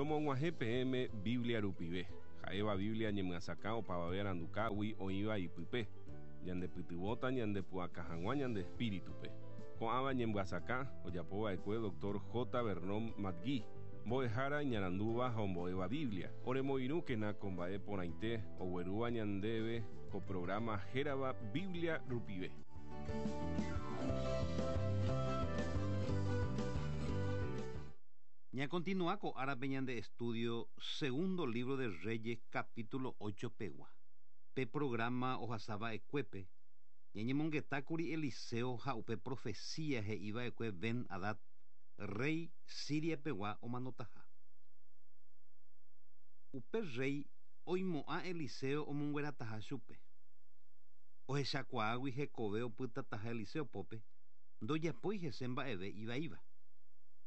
Romog̃uahẽ peẽme Biblia rupive, ha'éva Biblia ñemyasakã opavave arandukágui oĩva ipype, ñandepytyvõta ñandepu'aka hag̃ua ñande espíritupe. Ko'ãva ñemyasakã ojapova'ekue Doctor J. Vernon McGee, mbo'ehára iñarandúva ha ombo'éva Biblia. Oremoirũkena ko mba'e porãite oguerúva ñandéve ko programa hérava Biblia rupive. Ñakontinua ko árape ñande estudio Segundo libro de Reyes capítulo 8 pegua. Pe programa ohasava'ekuépe, ñañemongetákuri Eliseo ha upe profecía he'iva'ekue Ben-Hadad, rey Siria pegua omanotaha. Upe rey oimo'ã Eliseo omonguerataha chupe. Ohechakuaágui hekove opytataha Eliseo pópe, ndojapói hese mba'eve ivaíva.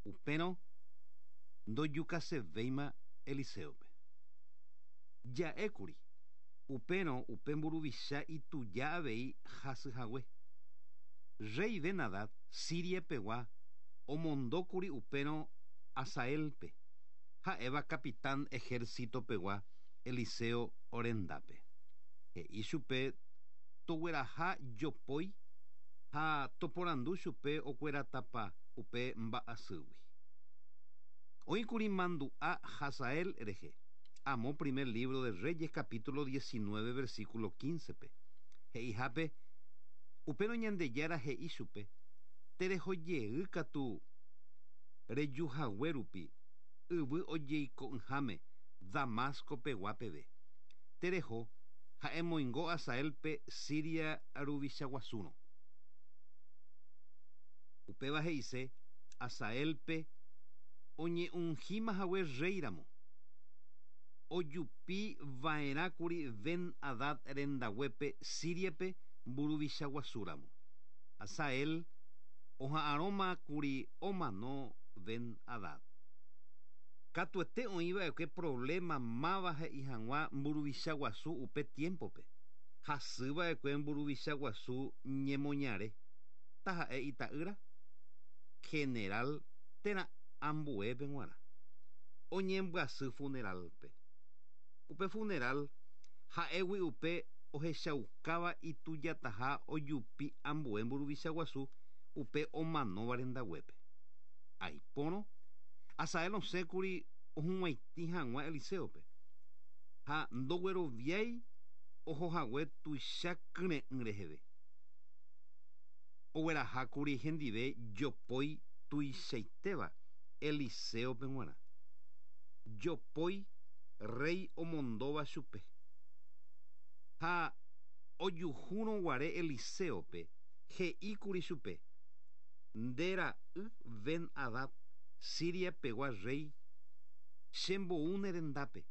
Upérõ ndojukasevéima Eliséope. Ja'ékuri, upérõ upe mburuvicha ituja avei hasyhague. Rey Ben-Hadad, Siria pegua, omondókuri upérõ Hazaélpe, ha'éva capitán ejército pegua Eliseo rendápe. He'i chupe togueraha jopói ha toporandu chupe okueratapa upe mba'asýgui. Oĩkuri mandu'a Hazael rehe, amo Primer libro de Reyes capítulo 19 versículo 15-pe, he'ihápe, Upérõ Ñandejára he'i chupe, Terehojey katu rejuhague rupi yvy ojeiko'ỹháme Damasco pegua peve. Tereho ha emoingo Hazaélpe Siria ruvicha guasúrõ. Upéva he'ise Hazaélpe oñeungíma hague rréi ramo. Ojupi va'erãkuri Ben-Hadad rendaguépe Síriape mburuvicha guasu ramo. Hazael oha'arõma kuri omano Ben-Hadad. Katuete oĩ va'ekue provléma máva he'i hag̃ua mburuvicha guasu upe tiémpope. Hasy va'ekue mburuvicha guasu ñemoñare, taha'e ita'ýra, general térã ambuépe g̃uarã. Oñembyasy funeral-pe. Upe funeral ha'égui upe ohechaukáva itujataha ojupi ambue mburuvicha guasu upe omanóva rendaguépe. Aipórõ, Hazael osẽkuri ohug̃uaitĩ hag̃ua Eliséope, ha ndogueroviái ohohague tuicha kyre'ỹ reheve. Oguerahákuri hendive jopói tuichaitéva Eliséope g̃uarã. Jopói rréi omondóva chupe. Ha ojuhúrõ guare Eliséope, he'íkuri chupe, Nde ra'y Ben-Hadad, Siria pegua rréi, chembou ne rendápe,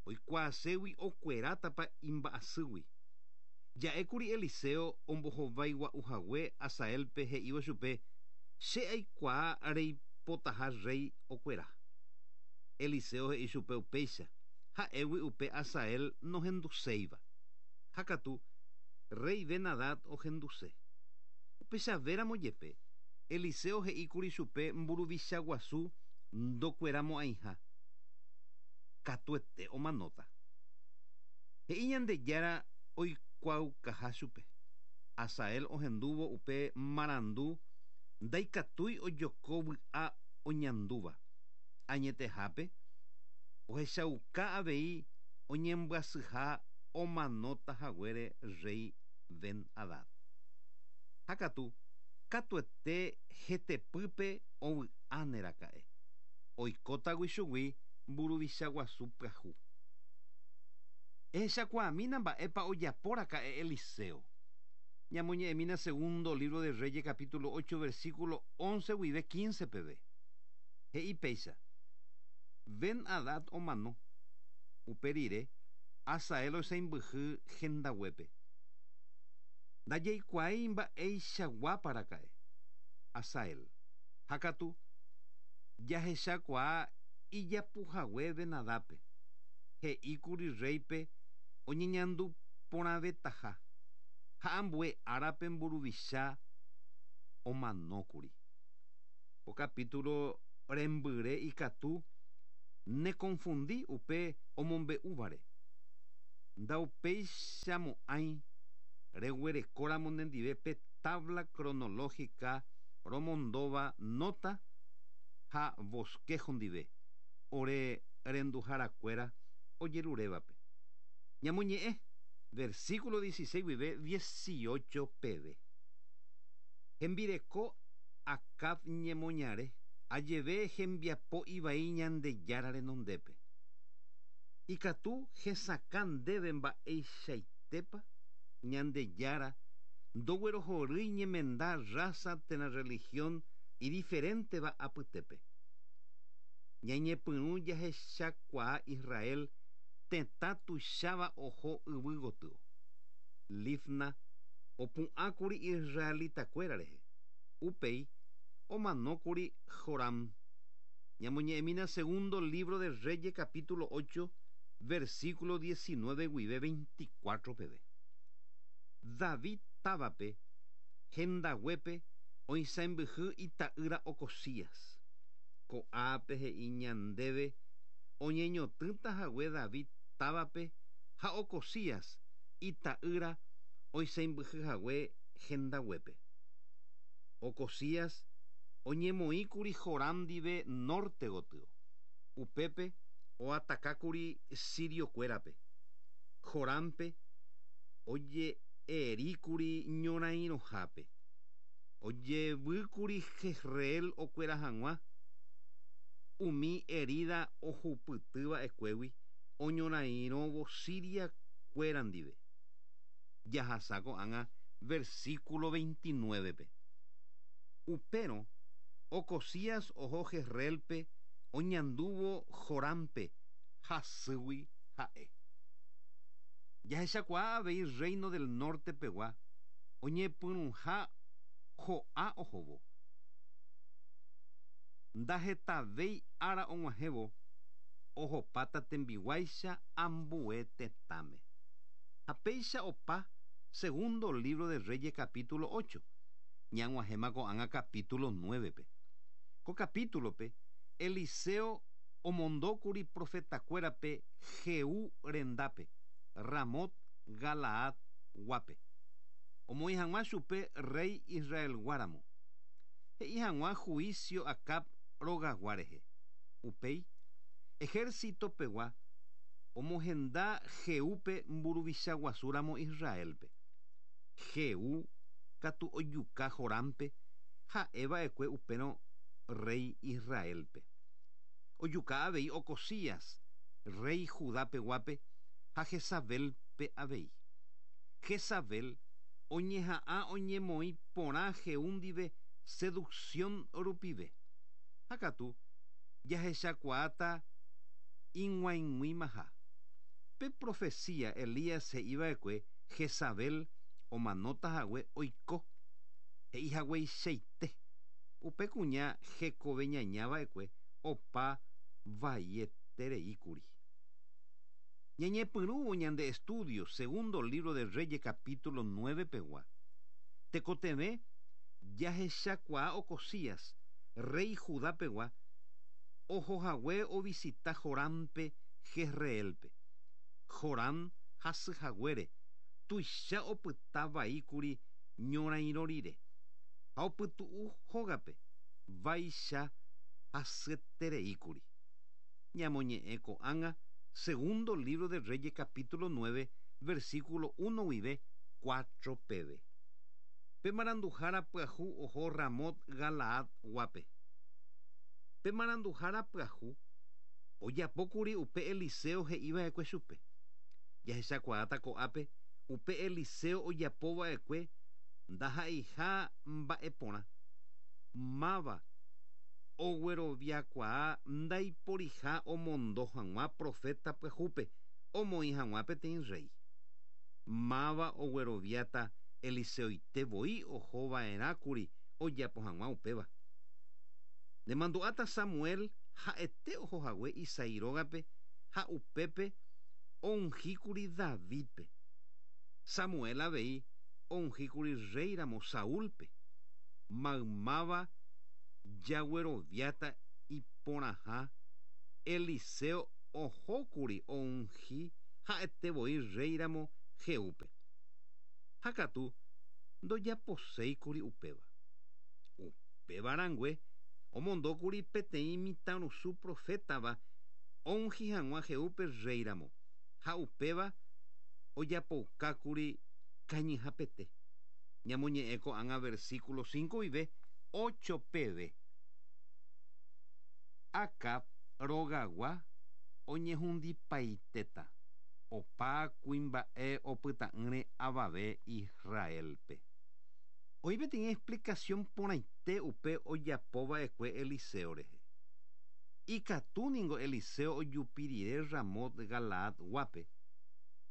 oikuaaségui okuerátapa imba'asýgui. Ja'ékuri Eliseo ombohovái gua'u hague Hazaélpe he'ívo chupe, Che aikuaa reipotaha rréi okuera. Eliseo he'i chupe upéicha, ha'égui upe Hazael nohenduséiva. Ha katu, rréi Ben-Hadad ohenduse. Upechavéramo jepe, Eliseo he'íkuri chupe mburuvicha guasu ndokueramo'ãiha. Katuete omanóta. He'i Ñandejára oikuaaukaha chupe. Hazael ohendúvo upe marandu ndaikatúi ojoko vy'a oñandúva. Añetehápe, ohechauka avei oñembyasyha omanóta haguére rréi Ben-Hadad. Ha katu, katuete hetepýpe ovy'áne raka'e, oikótagui chugui mburuvicha guasu pyahu. Ehechakuaamína mba'épa ojapo raka'e Eliseo. Ñamoñe'ẽmína Segundo libro de Reyes capítulo 8 versículo 11 guive 15 peve. He'i péicha, Ben-Hadad omano. Upe rire, Hazael oisãimbyhy hendaguépe. Ndajaikuaái mba'eichaguápa raka'e Hazael, ha katu jahechakuaa ijapuhague Ben-Hadápe. He'íkuri rréipe oñeñandu porãvetaha, ha ambue árape mburuvicha omanókuri. Ko capítulo rembyre ikatu. Nekonfundi upe omombe'úvare. Ndaupeichamo'ãi reguerekóramo nendive pe tabla cronológica romondóva nota ha bosquejo ndive ore renduharakuéra ojerurévape. Ñamoñe'ẽ, versículo 16 guive 18 peve. Hembireko Acab ñemoñare, ajeve hembiapo ivai Ñandejára renondépe. Ikatu hesakã ndéve mba'eichaitépa Ñandejára ndoguerohorýi ñemenda raza térã religión idiferénteva apytépe. Ñañepyrũ jahechakuaa Israel tetã tuicháva oho yvy gotyo. Libna opu'ãkuri israelitakuéra rehe. Upéi omanókuri Joram. Ñamoñe'ẽmína Segundo libro de Reyes capítulo 8, versículo 19 guive 24 peve. David távape, hendaguépe oisãmbyhy ita'ýra Ocozías. Ko'ápe he'i ñandéve oñeñotỹta hague David távape ha Ocozías ita'ýra oisãmbyhy hague hendaguépe. Ocozías oñemoĩkuri Joram ndive norte gotyo. Upépe oatakákuri siriokuérape. Jorámpe oje'eríkuri ñorairõhápe. Ojevýkuri Jezreel okuera hag̃ua umi herida ohupytyva'ekuégui oñorairõvo Siria-kuéra ndive. Jahasa ko'ág̃a versículo 29-pe. Upérõ Ocozías oho Jezreélpe oñandúvo Jorámpe hasýgui ha'e. Jahechakuaa avei Reino del Norte pegua oñepyrũha ho'a ohóvo. Ndahetavéi ára og̃uahẽvo ohopáta tembiguáicha ambue tetãme. Ha péicha opa Segundo libro de Reyes capítulo 8, ñag̃uahẽma ko'ág̃a capítulo 9-pe. Ko capítulo-pe Eliseo omondókuri profetakuérape Jehú rendápe, Ramot Galaad guápe, omoĩ hag̃ua chupe rréi Israelgua ramo, he'i hag̃ua juicio Acab rogagua rehe. Upéi, ejército pegua omohenda Jehúpe mburuvicha guasu ramo Israélpe. Jehú katu ojuka Jorámpe, ha'e va'ekue upérõ rréi Israélpe. Ojuka avei Ocozías, rréi Judá peguápe, ha Jezabélpe avei. Jezabel oñeha'ã oñemoĩ porã Jehú ndive seducción rupive. Ha katu jahechakuaáta ig̃uaig̃uimaha. Pe profecía Elías he'i va'ekue Jezabel omanóta hague oiko, he'i hagueichaite. Upe kuña hekove ñaña va'ekue opa vaietereíkuri. Ñañepyrũvo ñande estudio Segundo libro de Reyes capítulo 9 pegua, tekotevẽ jahechakuaa Ocozías, rréi Judá pegua, oho hague ovisita Jorámpe Jezreélpe. Jorán hasy haguére tuicha opyta vaíkuri ñorairõ rire, ha opytu'u hógape vaicha hasyetereíkuri. Ñamoñe'ẽ ko'ág̃a Segundo libro de Reyes capítulo 9, versículo 1 guive 4 peve. Pe maranduhára pyahu oho Ramot Galaad guápe. Pe maranduhára pyahu ojapókuri upe Eliseo he'iva'ekue chupe. Jahechakuaáta ko'ápe upe Eliseo ojapova'ekue ndaha'eiha mba'e porã. Máva ogueroviakuaa ndaiporiha omondo hag̃ua proféta pyahúpe omoĩ hag̃ua peteĩ rréi. Máva ogueroviáta Eliseoite voi oho va'erãkuri ojapo hag̃ua upéva. Nemandu'áta Samuel ha'ete oho hague Isaí rógape ha upépe ounhíkuri Davídpe. Samuel avei ounhíkuri rréiramo Saúlpe. Maymáva jagueroviáta iporãha Eliseo ohókuri ounhi ha'etevoi rréiramo Jehúpe. Ha katu ndojaposéikuri upéva. Upéva rangue omondókuri peteĩ mitãrusu profétava ounhi hag̃ua Jehúpe rréiramo, ha upéva ojapoukákuri kañyhapete. Ñamoñe'ẽ ko'ág̃a versículo 5 guive 8 peve. Acab rogagua oñehundipaitéta, opa kuimba'e opyta'ỹre avave Israélpe. Oĩ peteĩ explicación porãite upe ojapova'ekue Eliseo rehe. Ikatu ningo Eliseo ojupi rire Ramot Galaad guápe,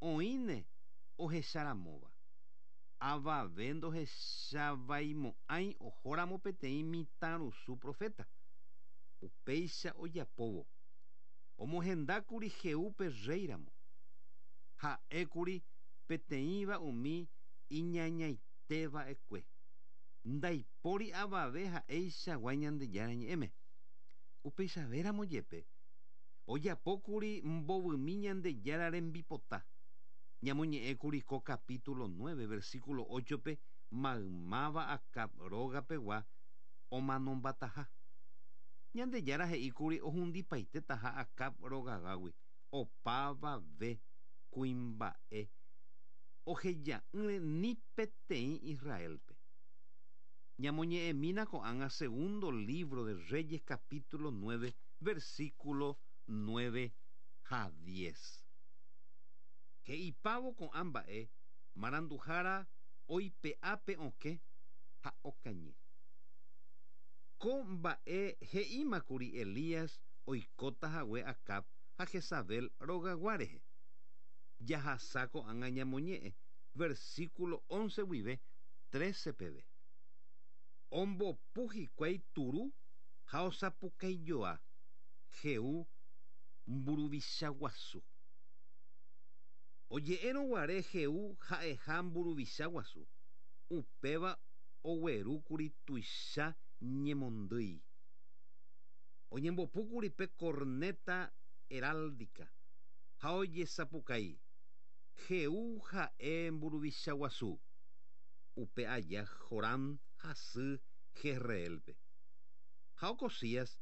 oĩne ohecharamóva. Avave ndohechavaimo'ãi ohóramo peteĩ mitãrusu proféta. Upéicha ojapóvo, omohendákuri Jehúpe rréiramo. Ha'ékuri peteĩva umi iñañaiteva'ekue. Ndaipóri avave ha'eichagua Ñandejára Ñe'ẽme. Upeichavéramo jepe, ojapókuri mbovymi Ñandejára rembipota. Ñamoñe'ẽkuri ko capítulo 9, versículo 8-pe maymáva Acab rógapegua omanombataha. Ñandejára he'íkuri ohundipaitetaha Acab rogagágui opavave kuimba'e oheja'ỹre ni peteĩ Israélpe. Ñamoñe'ẽmína ko'ág̃a segundo libro de Reyes capítulo 9, versículo 9 ha 10. He'ipávo ko'ã mba'e maranduhára oipe'a pe okẽ ha okañy. Ko mba'e he'ímakuri Elías oikóta hague Acab ha Jezabel rogagua rehe. Jahasa ko'ág̃a ñamoñe'ẽ versículo 11 guive 13 peve. Ombopu hikuái turu ha osapukaijoa Jehú mburuvicha guasu. Oje'érõ guare Jehú ha'eha mburuvicha guasu, upéva oguerúkuri tuicha ñemondýi. Oñembopúkuri pe corneta heráldica ha ojesapukái, Jehú ha'e mburuvicha guasu! Upe aja Joram hasy Jezreélpe. Ha Ocozías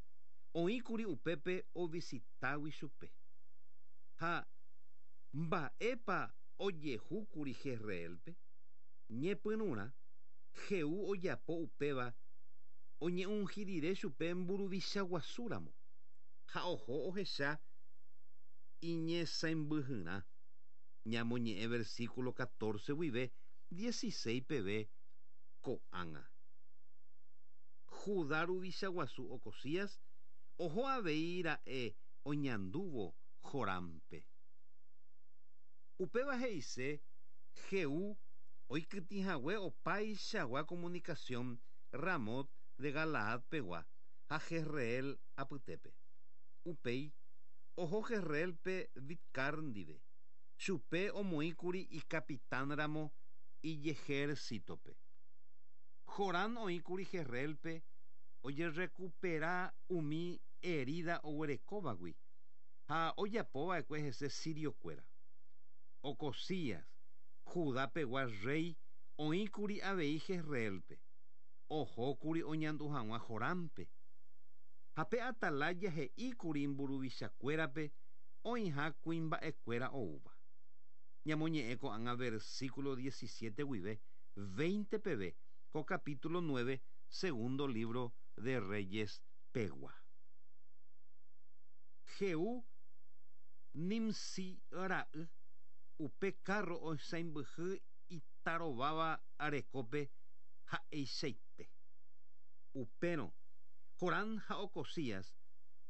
oĩkuri upépe ovisitágui chupe. Ha mba'épa ojehúkuri Jezreélpe? Ñepyrũrã, Jehú ojapo upéva oñeunhi rire chupe mburuvicha guasúramo, ha oho ohecha iñesãimbyhyrã. Ñamoñe'ẽ versículo 14 guive 16 peve ko'ág̃a. Judá ruvicha guasu Ocozías oho avei ra'e oñandúvo Jorámpe. Upéva he'ise Jehú oikytĩhague opaichagua comunicación Ramot de Galaad pegua ha Jezreel apytépe. Upéi, oho Jezreélpe Bidcar ndive, chupe omoĩkuri ikapitán ramo ijehérsitope. Jorán oĩkuri Jezreélpe ojerrekupera umi erída oguerekóvagui ha ojapova'ekue hese siriokuéra. Ocozías, Judá pegua rréi oĩkuri avei Jezreélpe, ohókuri oñandu hag̃ua Jorámpe. Ha pe Atalaya he'íkuri mburuvichakuérape oĩha kuimba'ekuéra oúva. Ñamoñe'ẽ ko'ág̃a versículo 17 guive 20 peve ko capítulo 9 segundo libro de Reyes pegua. Jehú Nimsí ra'y, upe kárro osãimbyhy itarováva rekópe ha'eichaite. Upérõ, Jorán ha Ocozías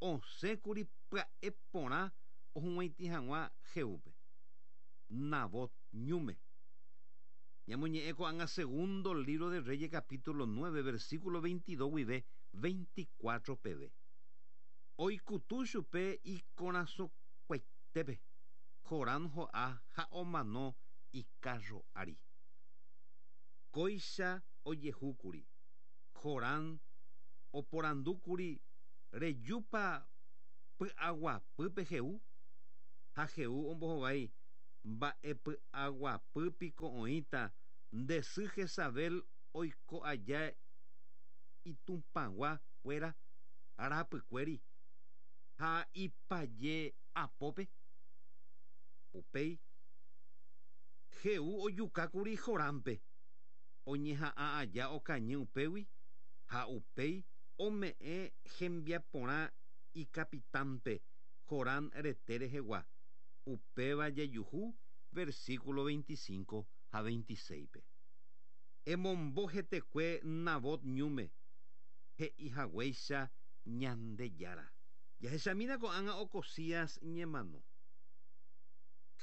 osẽkuri pya'e porã ohug̃uaitĩ hag̃ua Jehúpe, Nabot ñúme. Ñamoñe'ẽ ko'ág̃a segundo libro de Reyes capítulo 9 versículo 22 guive 24 peve. Oikutu chupe ikorasõkuaitépe, Jorán ho'a ha omano ikárro ári. Kóicha ojehúkuri, Jorán oporandúkuri rejúpa Py'aguapýpe Jehú. Ha Jehú ombohovái, Mba'e py'aguapy piko oĩta nde sy Jezabel oiko aja itupãgua kuéra rapykuéri ha ipaje apópe? Upéi Jehú ojuka kuri Jorámpe, oñeha'ã aja okañy upégui ha upéi ome'ẽ hembiaporã ikapitánpe Jorán rete rehegua, upéva jajuhu versículo 25 ha 26-pe. Emombo hetekue Nabot ñúme, he'i haguéicha Ñandejára. Jahechamína ko'ág̃a Ocozías ñemano.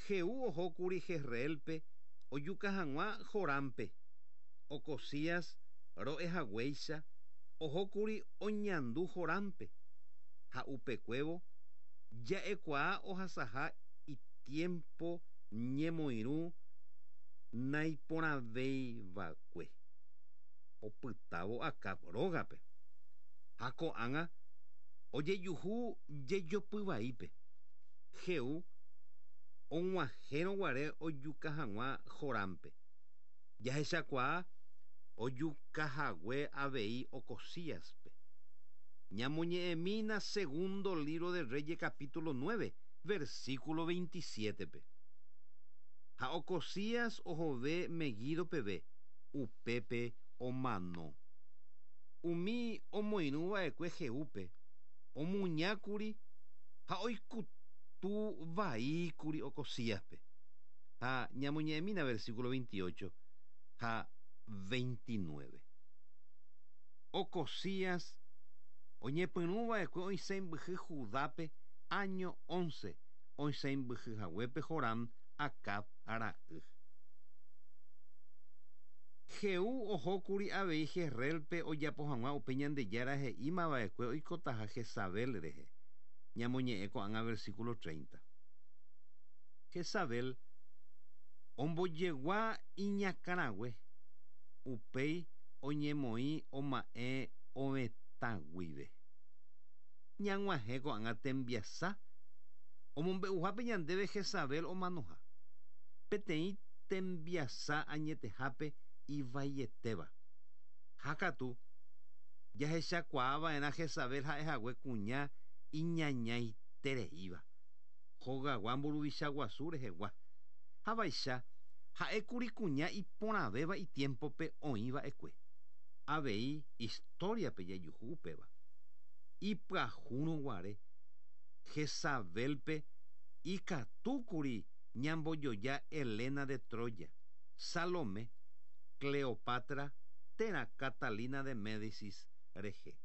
Jehú ohókuri Jezreélpe ojuka hag̃ua Joránpe. Ocozías ro'e haguéicha ohókuri oñandu Joránpe, ha upekuévo ja'ekuaa ohasaha itiémpo ñemoirũ naiporãveiva'ekue opytávo Acab rógape. Ha ko'ág̃a ojejuhu jejopy vaípe. Jehú og̃uahẽrõ guare ojuka hag̃ua Jorámpe, jahechakuaa ojukahague avei Ocozíaspe. Ñamoñe'ẽmína Segundo lívro de Reyes capítulo 9, versículo 27-pe. Ha Ocozías ohove Meguido peve, upépe omano. Umi omoirũ va'ekue Jehúpe omuñákuri ha oikutu vaíkuri Ocozíaspe. Ha ñamoñe'ẽmína versículo 28 ha 29. Ocozías oñepyrũ va'ekue oisãimbyhy Judápe áño once oisãimbyhy haguépe Joram, Acab ra'y. Jehú ohókuri avei Jezreélpe ojapo hag̃ua upe Ñandejára he'íma va'ekue oikotaha Jezabel rehe. Ñamoñe'ẽ ko'ág̃a versículo 30. Jezabel ombojegua iñakãrague, upéi oñemoĩ oma'ẽ ovetã guive. Ñag̃uahẽ ko'ág̃a tembiasa omombe'uhápe ñandéve Jezabel omanoha, peteĩ tembiasa añetehápe ivaietéva. Ha katu, jahechakuaa va'erã Jezabel ha'ehague kuña iñañaitereíva, hogagua mburuvicha guasu rehegua. Ha vaicha, ha'ékuri kuña iporãvéva itiémpope oĩ va'ekue. Avei istóriape jajuhu upéva. Ipyahúrõ guare, Jezabélpe ikatúkuri ñambojoja Helena de Troya, Salomé, Cleopatra térã Catalina de Médicis rehe.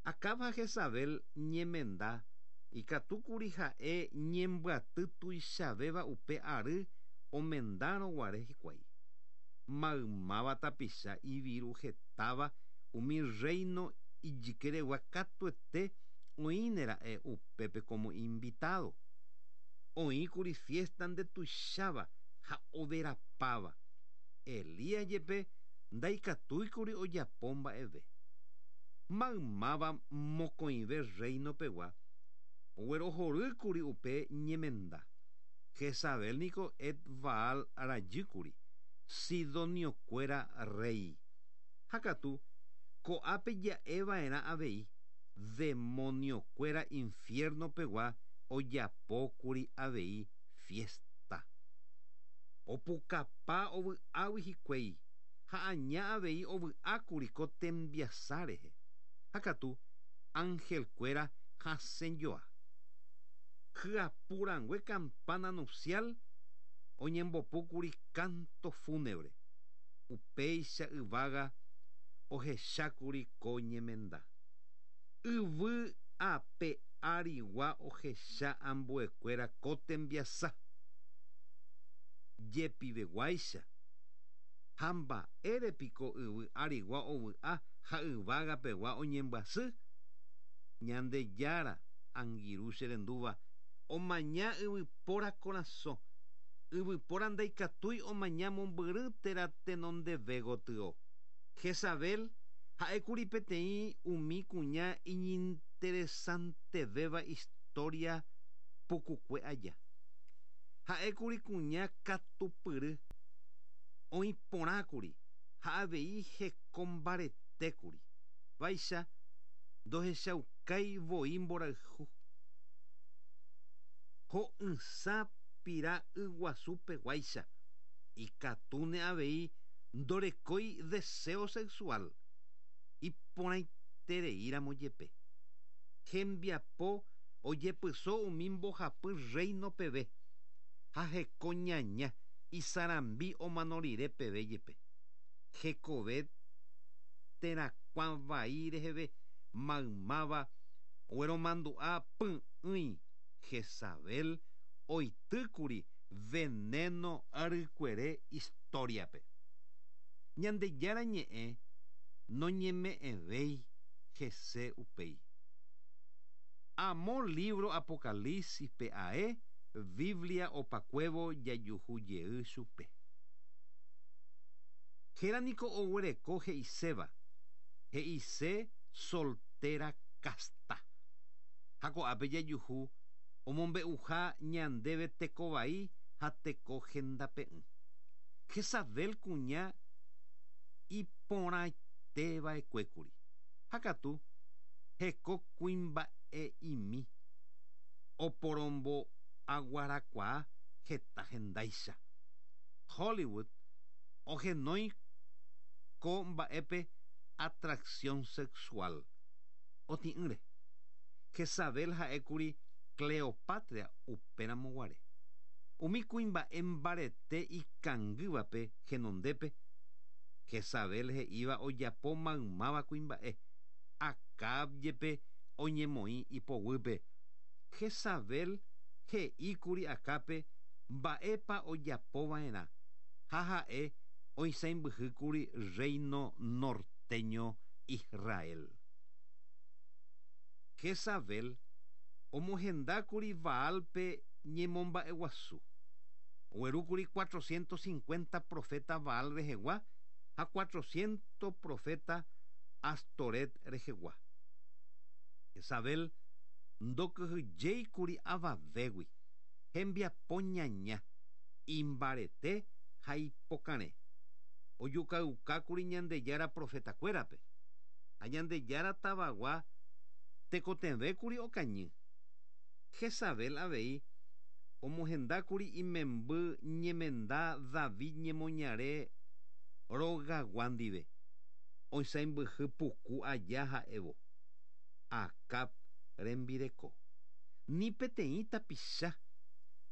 Acab ha Jezabel ñemenda ikatúkuri ha'e ñembyaty tuichavéva upe ary omendárõ guare hikuái. Maymáva tapicha iviru hetáva umi rréino ijykeregua katuete oĩnera'e upépe como invitado. Oĩkuri fiesta ndetuicháva ha overapáva. Elías jepe ndaikatúikuri ojapo mba'eve. Maymáva mokõive rréino pegua oguerohorýkuri upe ñemenda. Jezabel niko Et-Baal rajýkuri, sidoniokuéra rréi. Ha katu, ko'ápe ja'e va'erã avei, demoniokuéra infierno pegua ojapókuri avei fiesta. Opukapa ovy'águi hikuái ha aña avei ovy'ákuri ko tembiasa rehe. Ha katu, angelkuéra hasẽjoa. Hyapu rangue campana nupcial oñembopúkuri canto fúnebre. Upéicha yvága ohechákuri ko ñemenda. Yvy ape árigua ohecha ambuekuéra ko tembiasa. Jepiveguáicha. Ha mba'ére piko yvy árigua ovy'a ha yvága pegua oñembyasy? Ñandejára, angirũ che rendúva, omaña yvypóra korasõ. Yvypóra ndaikatúi omaña mombyry térã tenondeve gotyo. Jezabel ha'ékuri peteĩ umi kuña iñinteligente. Iñinteresantevéva historia pukukue aja. Ha'ékuri kuña katupyry oĩporãkuri ha avei hekombaretékuri. Vaicha ndohechaukái voi mborayhu. Ho'ysã pira yguasupeguáicha, ikatúne avei ndorekói deseo sexual, iporãitereíramo jepe. Hembiapo ojepyso umi mbohapy rréino peve, ha heko ñaña isarambi omano rire peve jepe. Hekove terakuã vai reheve maymáva ogueromandu'a py'ỹi Jezabel oitýkuri veneno rykuere historia-pe. Ñandejára ñe'ẽ noñeme'ẽvéi hese upéi. Amo lívro Apocalipsis-pe ae Biblia opakuévo jajuhu jey chupe. Héra niko oguereko he'iséva, he'ise soltera casta. Ha ko'ápe jajuhu omombe'uha ñandéve teko vai ha teko hendape'ỹ. Jezabel kuña iporãiteva'ekuékuri. Ha katu heko kuimba'e'imi oporombo'aguarakuaa heta hendáicha. Hollywood ohenói ko mba'épe atracción sexual. Otĩ'ỹre. Jezabel ha'ékuri Cleopatra upéramo guare. Umi kuimba'e mbarete ikangývape henondépe, Jezabel he'íva ojapo maymáva kuimba'e, Acab jepe oñemoĩ ipoguýpe. Jezabel he'íkuri Acábpe mba'épa ojapova'erã ha ha'e oisãimbyhýkuri rréino norteño Israel. Jezabel omohendákuri Baálpe ñemomba'eguasu. Oguerúkuri cuatrocientos cincuenta proféta Baal rehegua ha cuatrocientos proféta Astoret rehegua. Jezabel ndokyhyjéikuri avavégui, hembiapo ñaña, imbarete ha ipokarẽ. Ojukaukákuri Ñandejára profetakuérape, ha Ñandejára tavagua tekotevẽkuri okañy. Jezabel avei omohendákuri imemby ñemenda David ñemoñare rogagua ndive, oisãimbyhy puku aja ha'évo Acab rembireko. Ni peteĩ tapicha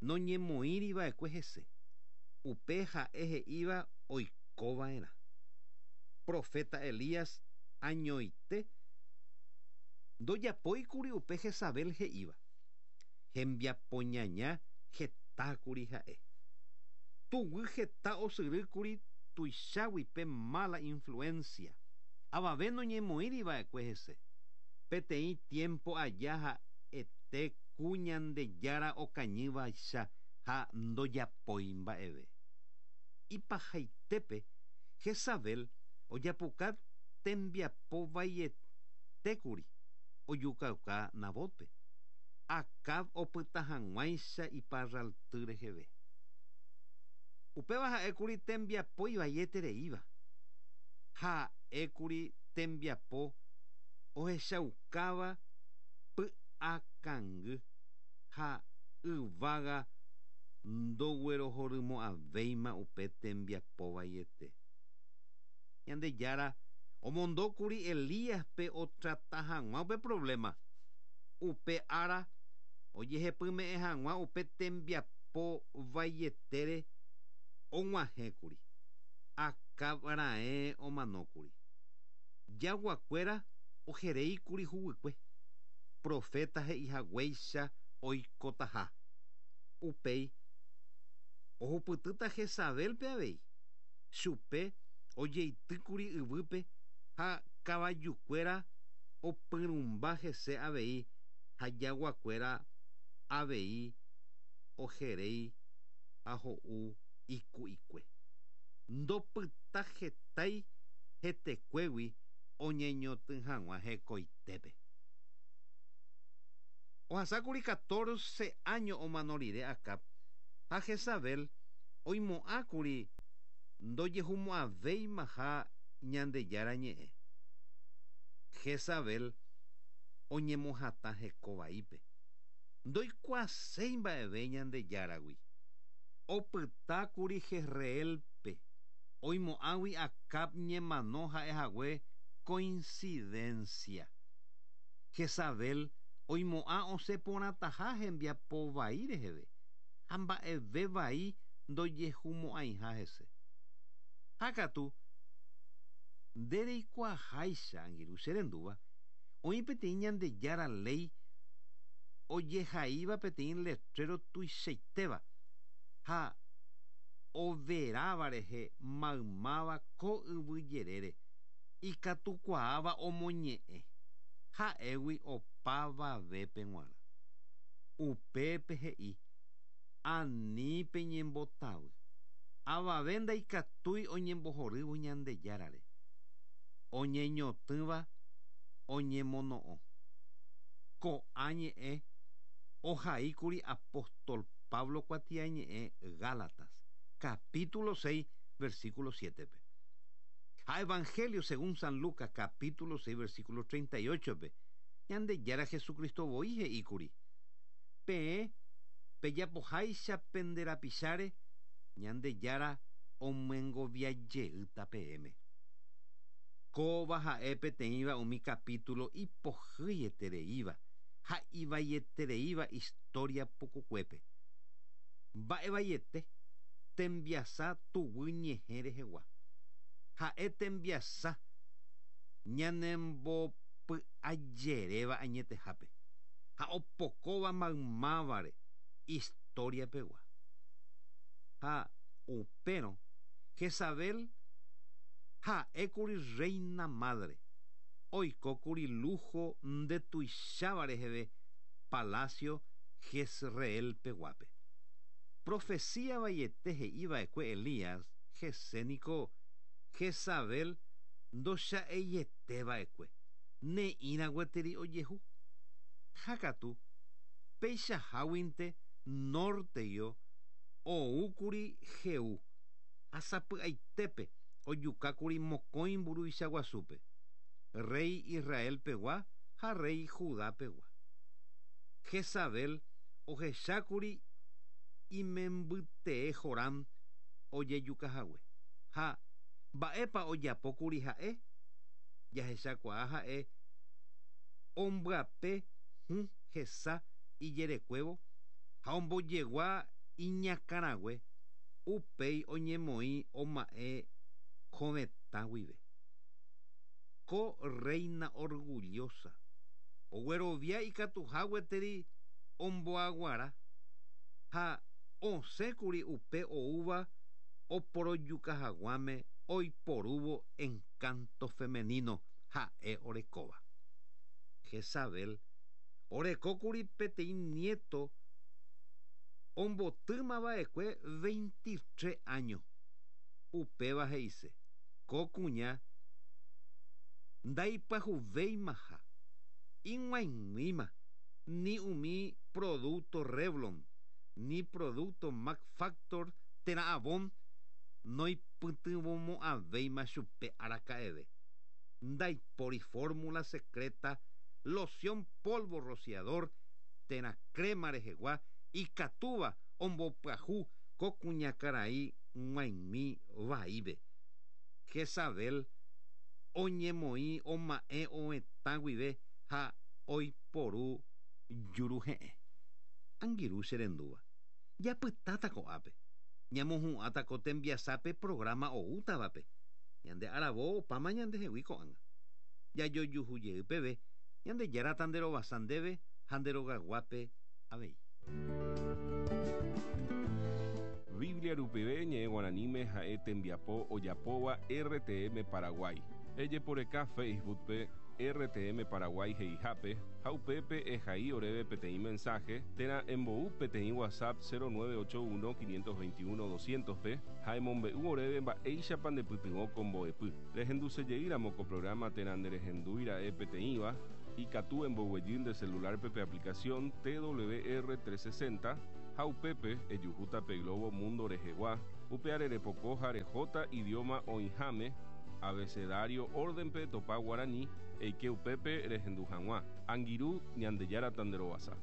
noñemoĩri va'ekue hese, upe ha'e he'íva oiko va'erã. Proféta Elías añoite ndojapóikuri upe Jezabel he'íva. Hembiapoñaña hetákuri ha'e. Tuguy heta osyrýkuri tuichágui pe mala influencia. Avave noñemoĩri va'ekue hese. Peteĩ tiempo aja ha'ete ku Ñandejára okañývaicha ha ndojapói mba'eve. Ipahaitépe, Jezabel ojapuka tembiapo vaietékuri ojukauka Nabótpe. Acab opyta hag̃uáicha iparralty reheve. Upéva ha'ékuri tembiapo ivaietereíva. Ha'ékuri tembiapo ohechaukáva py'akangy ha yvága ndoguerohorymo'ãvéima upe tembiapo vaiete. Ñandejára omondókuri Elíaspe otrata hag̃ua upe provléma. Upe ára ojehepyme'ẽ hag̃ua upe tembiapo vaietére og̃uahẽkuri. Acab raẽ omanókuri. Jaguakuéra oheréikuri huguykue, proféta he'ihaguéicha oikotaha. Upéi ohupytýta Jezabélpe avei. Chupe ojeitýkuri yvýpe ha kavajukuéra opyrũmba hese avei ha jaguakuéra avei oheréi ha ho'u iku'ikue. Ndopyta hetái hetekuégui oñeñotỹ hag̃ua hekoitépe. Ohasákuri 14 áño omano rire Acab, ha Jezabel oimo'ãkuri ndojehumo'ãvéimaha Ñandejára ñe'ẽ. Jezabel oñemohatã heko vaípe. Ndoikuaaséi mba'eve Ñandejáragui. Opytákuri Jezreélpe, oimo'ãgui Acab ñemano ha'ehague coincidencia. Jezabel oimo'ã osẽ porãtaha hembiapo vai reheve ha mba'eve vai ndojehumo'ãiha hese. Ha katu, nde reikuaaháicha, angirũ che rendúva, oĩ peteĩ Ñandejára léi ojehaíva peteĩ letrero tuichaitéva ha overáva rehe maymáva ko yvy jerére ikatukuaáva omoñe'ẽ, ha'égui opavavépe g̃uarã. Upépe he'i, Ani peñembotavy. Avave ndaikatúi oñembohorývo Ñandejárare. Oñeñotỹva oñemono'õ. Ko'ã ñe'ẽ ohaíkuri apóstol Pablo kuatiañe'ẽ Gálatas, capítulo 6, versículo 7-pe. Ha Evangelio según San Lucas, capítulo 6, versículo 38-pe, Ñandejára Jesucristo voi he'íkuri, Peẽ pejapoháicha pende rapicháre, Ñandejára omyengoviajeýta peẽme. Kóva ha'e peteĩva umi capítulo ipohýietereíva ha ivaietereíva historia pukukuépe. Mba'evaiete tembiasa tuguy ñehẽ rehegua. Ha'e tembiasa ñanembopy'ajeréva añetehápe ha opokóva maymávare historia pegua. Ha upérõ Jezabel ha'ékuri reina madre, oikókuri lujo ndetuicháva reheve palacio Jezreel peguápe. Profecía vaiete he'iva'ekue Elías hese niko Jezabel ndocha'eieteva'ekue, ne'ĩra gueteri ojehu. Ha katu, peichaháguinte nórteguio oúkuri Jehú, ha sapy'aitépe ojukákuri mokõi mburuvicha guasúpe, rréi Israel pegua ha rréi Judá pegua. Jezabel ohechákuri imembytee Joram ojejukahague. Ha mba'épa ojapókuri ha'e? Jahechakuaa ha'e ombyape hũ hesa ijerekuévo ha ombojegua iñakãrague, upéi oñemoĩ oma'ẽ hovetã guive. Ko reina orgullosa oguerovia ikatuha gueteri omboaguara ha osẽkuri upe oúva oporojuka haguãme oiporúvo encanto femenino ha'e orekóva. Jezabel orekókuri peteĩ nieto ombotýmava'ekue 23 áño. Upéva he'ise, ko kuña ndaipyahuvéimaha, ig̃uaig̃uíma ni umi producto Revlon, ni producto Max Factor térã Avon noipytyvõmo'ãvéima chupe araka'eve. Ndaipóri fórmula secreta, loción polvo rociador térã crema rehegua ikatúva ombopyahu ko kuñakarai g̃uaig̃ui vaípe. Jezabel oñemoĩ oma'ẽ ovetã guive ha oiporu juruhe'ẽ. Angirũ che rendúva, japytáta ko'ápe, ñamohu'ãta ko tembiasápe programa oútavape. Ñande aravo opáma ñandehegui ko'ág̃a. Jajojuhu jey peve, Ñandejára tanderovasa ndéve ha nde rogaguápe avei. Biblia rupive ñe'ẽ guaraníme ha'e tembiapo ojapóva RTM Paraguay. Ejeporeka Facebook-pe RTM Paraguay he'ihápe ha upépe ehai oréve peteĩ mensaje térã embou peteĩ WhatsApp 0981 521 200-pe ha emombe'u oréve mba'éichapa ndepytyvõ ko mbo'epy. Rehendusejeýramo ko programa térã nderehendúi ra'e peteĩva. Ikatu emboguejy nde celular-pe pe aplicación TWR 360 ha upépe ejuhúta pe globo mundo rehegua, upeare repoko ha rehóta idioma oĩháme, abecedario orden-pe topa guarani, eike upépe rehendu hag̃ua. Angirũ, Ñandejára tanderovasa.